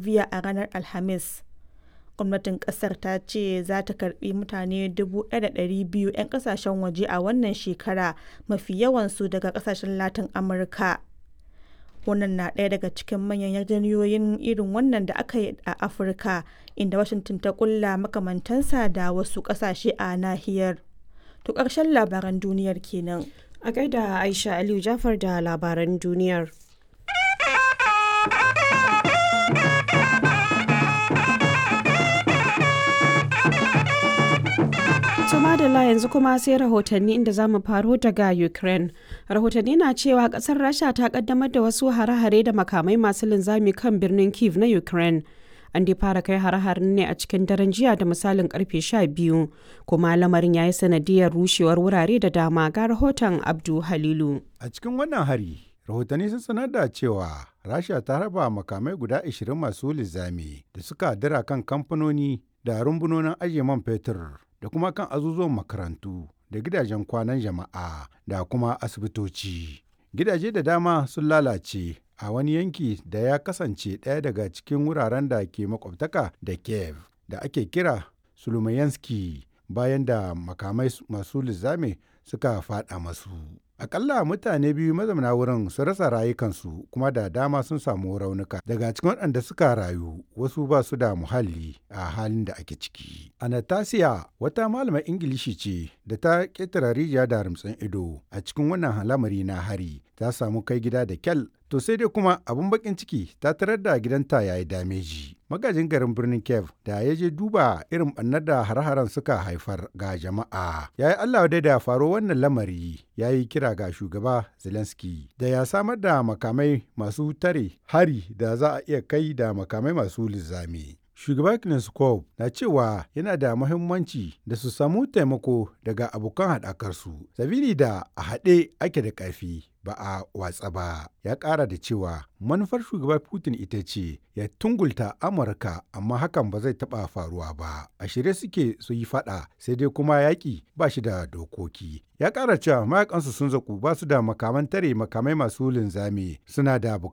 Bolivia a ranar Alhamis. Gwamnatin kasar ta ce za ta karbi mutane 1,200 'yan kasashen waje a wannan shekara, mafi yawansu daga kasashen Latin Amurka. Wannan na ɗaya daga cikin manyan yarjejeniyoyin irin wannan da aka yi a Afirka, inda Washington ta kulla makamantansa da wasu ƙasashe a nahiyar. To ƙarshen labaran duniyar kenan. A gaida Aisha Aliyu Jafar da labaran duniyar. To madalla, yanzu kuma sai rahotanni, inda za mu faro daga Ukraine. Rahotanni na cewa kasar Rasha ta kaddamar da wasu hare-hare da makamai masu linzami kan birnin Kiev na Ukraine. An dai fara kai hare-haren ne a cikin daren jiya da misalin karfe 12, kuma lamarin ya yi sanadiyar rushewar wurare da dama. Ga rahoton Abdu Halilu. A cikin wannan hari, rahotanni sun sanar da cewa Rasha ta raba makamai guda 20 masu linzami da suka dira kan kamfanoni da rumbunonin ajiye man fetur da kuma kan azuzuwan makarantu da gidajen kwanan jama'a da kuma asibitoci. Gidaje da dama sun lalace a wani yanki da ya kasance ɗaya daga cikin wuraren da ke makwabtaka da Kiev da ake kira Sulumayanski, bayan da makamai masu linzami suka faɗa masu. Akalla mutane biyu mazauna wurin sun rasa rayukansu, kuma da dama sun samu raunuka. Daga cikin waɗanda suka rayu, wasu ba su da muhalli a halin da ake ciki. Anastasia wata malamar Ingilishi ce da ta ƙetare rijiya da rumtsin ido a cikin wannan lamari na hari. Ta samu kai gida da kyal. To sai dai kuma abun bakin ciki, ta tarar da gidanta ya yi dameji. Magajin garin birnin Kiev da ya je duba irin ɓannar da har-haren suka haifar ga jama'a, ya yi Allah dai da faro wannan lamari, ya yi kira ga shugaba Zelensky da ya samar da makamai masu tare hari da za a iya kai da makamai masu linzami. Shugaba Kneskov na cewa yana da muhimmanci da su samu taimako daga abokan haɗakarsu, sabili da a haɗe ake da ƙarfi, ba a watsa ba. Ya ƙara da cewa manufar shugaba Putin ita ce ya tungulta Amurka, amma hakan ba zai taɓa faruwa ba. A shirye suke su yi faɗa, sai dai kuma yaƙi ba shi da dokoki. Ya ƙara cewa mayakansu sun zaku, ba su da makaman tare makamai masu linzami, suna da